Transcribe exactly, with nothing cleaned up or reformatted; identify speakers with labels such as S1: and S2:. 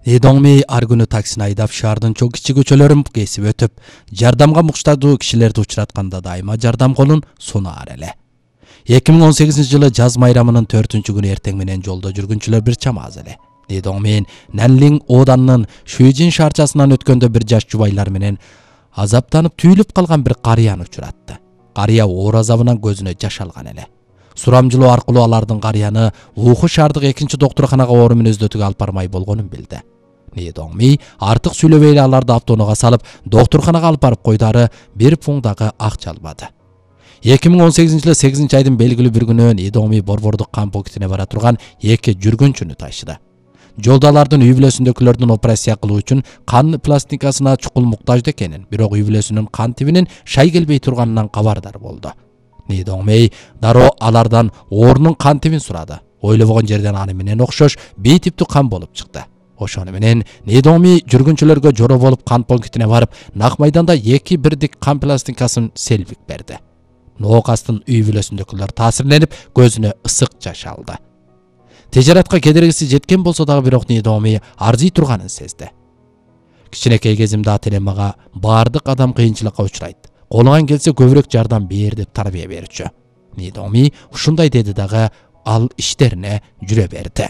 S1: Недоңми ар күнү таксини айдап шаардын чоң кичи көчөлөрүн кесип өтүп, жардамга муктаждуу кишилерди учуратканда дайыма жардам колун сунаар эле. эки миң он сегизинчи жылы жаз майрамынын төртүнчү күнү эртең менен жолдо жүргүнчүлөр бир чам аз эле. Недоңмен Нанлин Оданынын Шүйжин шаарчасынан өткөндө бир жаш жубайлар менен азаптанып түйүлүп калган бир карыяны учуратты. Карыя оор азабынан көзүнө жаш алган эле. Сурамжылоо аркылуу алардын карыяны Уху шаардык экинчи доктурканага оору мүнөздөтүүгө алып бармай болгонун билди. Недоңми артык сүйлөбөй эле аларды автоунаага салып, доктурканага алып барып койду, ары бир пуң дагы акча албады. эки миң он сегизинчи жылы сегизинчи айдын белгилүү бир күнү Недоңми борбордук кан пунктине бара турган эки жүргүнчүнү ташыды. Жолдо алардын үй бүлөсүндөгүлөрдүн операция кылуу үчүн кан пластинкасына чукул муктаждуу экенин, бирок үй бүлөсүнүн кан тибинин шай келбей турганынан кабардар болду. Недоңмей дароо алардан оорунун кан тибин сурады. Ойлобогон жерден аны менен окшош Б типтүү кан болуп чыкты. Ошону менен Недоңми жүргүнчүлөргө жоро болуп кан пунктине барып, нак майданда эки бирдик кан пластинкасын селбик берди. Ноокастын үй бүлөсүндөгүлөр таасирленип, көзүнө ысык жаш алды. Тежератка кедергиси жеткен болсо дагы бирок Недоңми арзый турганын сезди. Кичинекей кезимде ата-энем мага баардык адам кыйынчылыкка учурайт. Колуңан келсе көбүрөөк жардам бер деп тарбия берчү. Недоңми ушундай деди дагы ал иштерине жүрө берди.